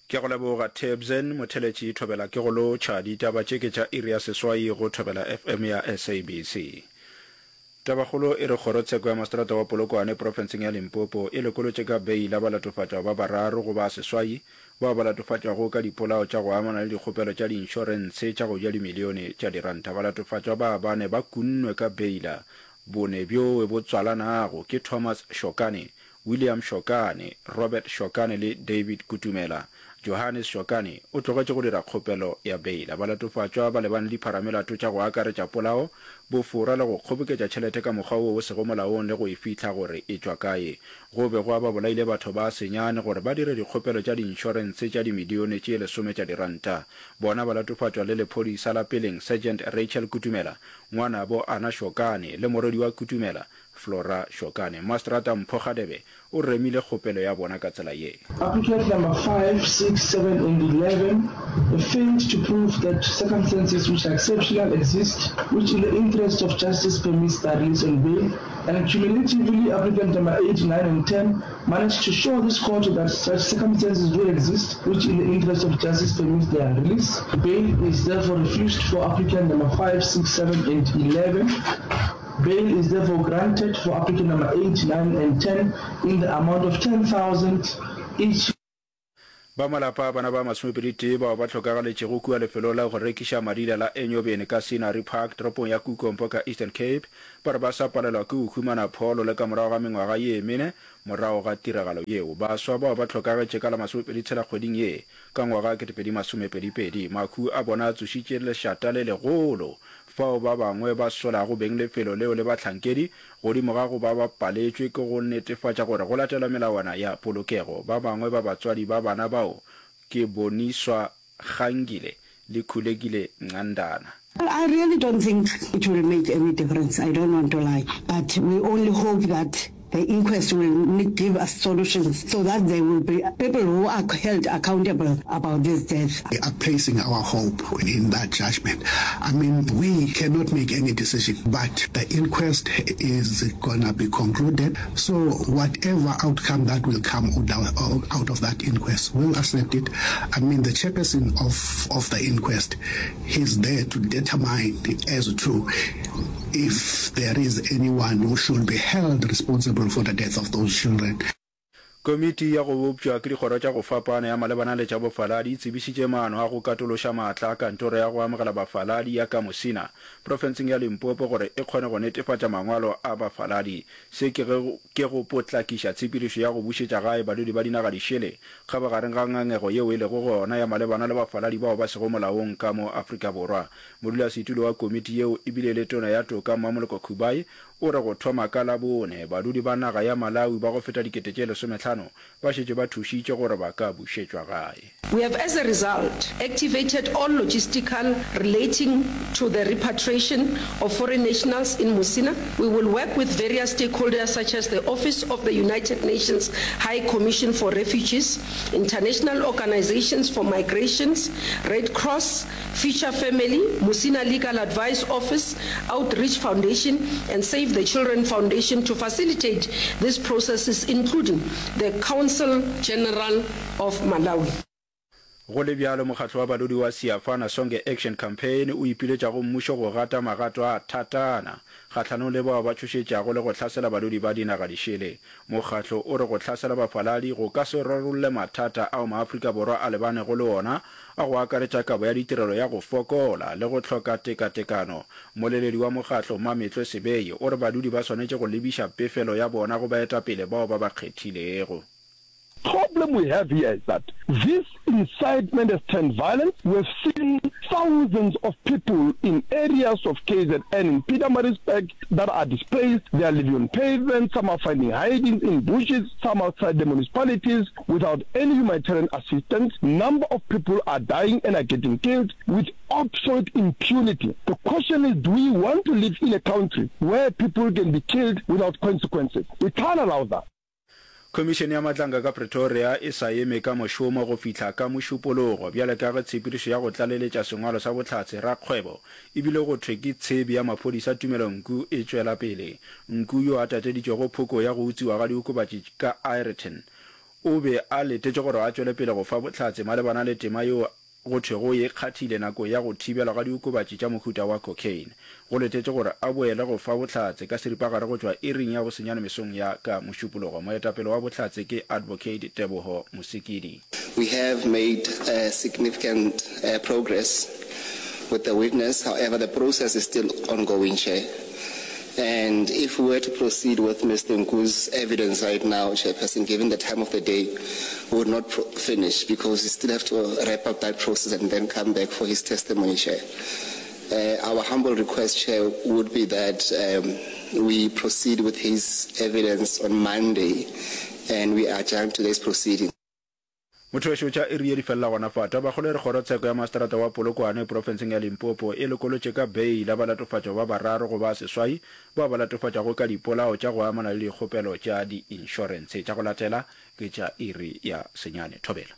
Ke a go leboga Tebzen Motheletši Thobela ke go lotšha. Ditaba tše ke tša iri ya seswai go Thobela FM ya SABC. Tabakgolo e re Kgorotsheko ya Maseterata wa Polokwane profenseng ya Limpopo e lekolotše ka beila balatofatšwa ba bararo go ba seswai bao ba latofatšwago ka dipolao tša go amana le dikgopelo tša diinšorentshe tša go ja dimilione tša diranta. Balatofatšwa ba bane ba kunnwe ka beila. Bone bjowe bo tswalanago ke Thomas Shokane, William Shokane, Robert Shokane le David Kutumela. Johannes Shokane o tlogetše go dira kgopelo ya beila. Balatofatšwa ba lebane le dipharamelato tša go akaretša polao, bofora le go kgoboketša tšhelete ka mokgwa wo o sego molaong le go e fihla gore e tšwa kae. Go be gwa ba bolaile batho ba senyane gore ba dire dikgopelo tša diinšorense tša dimilione tše lesome tša diranta. Bona balatofatšwa le lephodisa la peleng Sergeant Rachel Kutumela, ngwanabo Anna Shokane le morwedi wa Kutumela, Flora Shokane. Maseterata Mpho Kgadebe o remile kgopelo ya bona ka tsela ye. Applicant number 5, 6, 7 and 11 failed to prove that circumstances which are exceptional exist which in the interest of justice permits their release on bail and cumulatively applicant number 8, 9 and 10 managed to show this court that such circumstances do exist which in the interest of justice permits their release. Bail is therefore refused for applicant number 5, 6, 7 and 11. Bail is therefore granted for applicant number 8, 9 and 10 in the amount of 10,000 each. Ba malapa a bana ba masomepeditee bao ba hlokagaletšego kua lefelong la go rekiša madila la Enyobeni ka Scenery Park toropong ya Kukompo ka Eastern Cape ba re ba sa palelwa ke go humana pholo le ka morago ga mengwaga ye mene morago ga tiragalo yeo. Baswa bao ba hlokagetše ka la masomepeditshela kgweding ye ka ngwaga 2022. Mahu a bona a tsošitše lešata le legolo fao ba bangwe ba solago beng lefelo leo le bahlankedi godimo ga go ba ba paletšwe ke go netefatša gore go latelwa melawana ya polokego. Ba bangwe ba batswadi ba bana bao ke Boniswa Gangile le Khulekile Ncandana. I really don't think it will make any difference, I don't want to lie, but we only hope that the inquest will give us solutions so that there will be people who are held accountable about this death. We are placing our hope in that judgment. I mean, we cannot make any decision, but the inquest is gonna be concluded. So whatever outcome that will come out of that inquest, we'll accept it. I mean, the chairperson of, of the inquest, he's there to determine as to if there is anyone who should be held responsible for the death of those children. Komiti ya go bopša ke dikgoro tša go fapana ya malebana le tša bofaladi e tsebišitše maano a go katološa maatla a kantoro ya go amogela bafaladi ya ka Musina, profenseng ya Limpopo gore e kgone go netefatša mangwalo a bafaladi. Se ke ge ke go potlakiša tshepedišo ya go bušetša gae badudi ba dinaga dišele kgabagareng ga ngangego yeo e lego gona ya malebana le bafaladi bao ba sego molaong ka mo Afrika Borwa. Modulasetulo wa komiti yeo e bile le Tona ya Toka Mmamoloko Kubayi o re go thoma ka Labone, badudi ba naga ya Malawi ba go feta dikete tše lesomehlano ba šetše ba thušitše gore ba ka bušetšwa gae. We have as a result activated all logistical relating to the repatriation of foreign nationals in Musina. We will work with various stakeholders such as the Office of the United Nations High Commission for Refugees, International Organizations for Migrations, Red Cross, Future Family, Musina Legal Advice Office, Outreach Foundation and Save the Children Foundation to facilitate these processes including the Council General of Malawi. Go le bjalo, mokgatlo wa badudi wa Siyafana Sonke Action Campaign o ipiletša go mmušo go gata magato a thatana kgahlanong le bao ba tšhošetšago le go hlasela badudi ba dinaga dišele. Mokgatlo o re go hlasela bafaladi go ka se rarolle mathata ao maAfrika Borwa a lebanego le ona a go akaretša kabo ya ditirelo ya go fokola le go hloka tekatekano. Mmoleledi wa mokgatlo, Mametlwe Sebei, o re badudi ba swanetše go lebiša pefelo ya bona go baetapele bao ba ba kgethilego. Problem we have here is that this incitement has turned violent, we have seen thousands of people in areas of KZN in Pietermaritzburg that are displaced, they are living on pavements, some are finding hidings in bushes, some outside the municipalities without any humanitarian assistance, number of people are dying and are getting killed with absolute impunity. The question is do we want to live in a country where people can be killed without consequences? We can't allow that. Khomišene ya Matlanka ka Pretoria e sa eme ka mošomo go fihla ka Mošupologo bjale ka ge tshepedišo ya go tlaleletša sengwalo sa bohlatse rakgwebo e bile go thwe ke tshebi ya maphodisa Tumelo Nku e tšwela pele. Nku yo a tateditšwego phoko ya go utswiwa ga diokobatši ka Aeroton. O be a letetše gore a tšwele pele go fa bohlatse malebana le tema yeo go thwego o e kgathile nakong ya go thibelwa ga diokobatši tša mohuta wa cocaine. Go letetše gore a boele go fa bohlatse ka seripagare go tšwa iring ya bosenyane mesong ya ka Mošupologo. Moetapele wa bohlatse ke Advocate Teboho Mosikidi. We have made significant progress with the witness, however the process is still ongoing, Chair. And if we were to proceed with Mister Nku's evidence right now, Chairperson, given the time of the day, we would not finish because we still have to wrap up that process and then come back for his testimony, Chair. Uh, our humble request, Chair, would be that um, we proceed with his evidence on Monday and we adjourn today's proceeding. Motho wešo tša iri ye di felela gona fa. Tabakgolo e re Kgorotsheko ya Maseterata wa Polokwane profenseng ya Limpopo e lokolotše ka beila balatofatšwa ba bararo go ba seswai bao ba latofatšwago ka dipolao tša go amana le dikgopelo tša diinšorentshe. Tša go latela ke tša iri ya senyane. Thobela.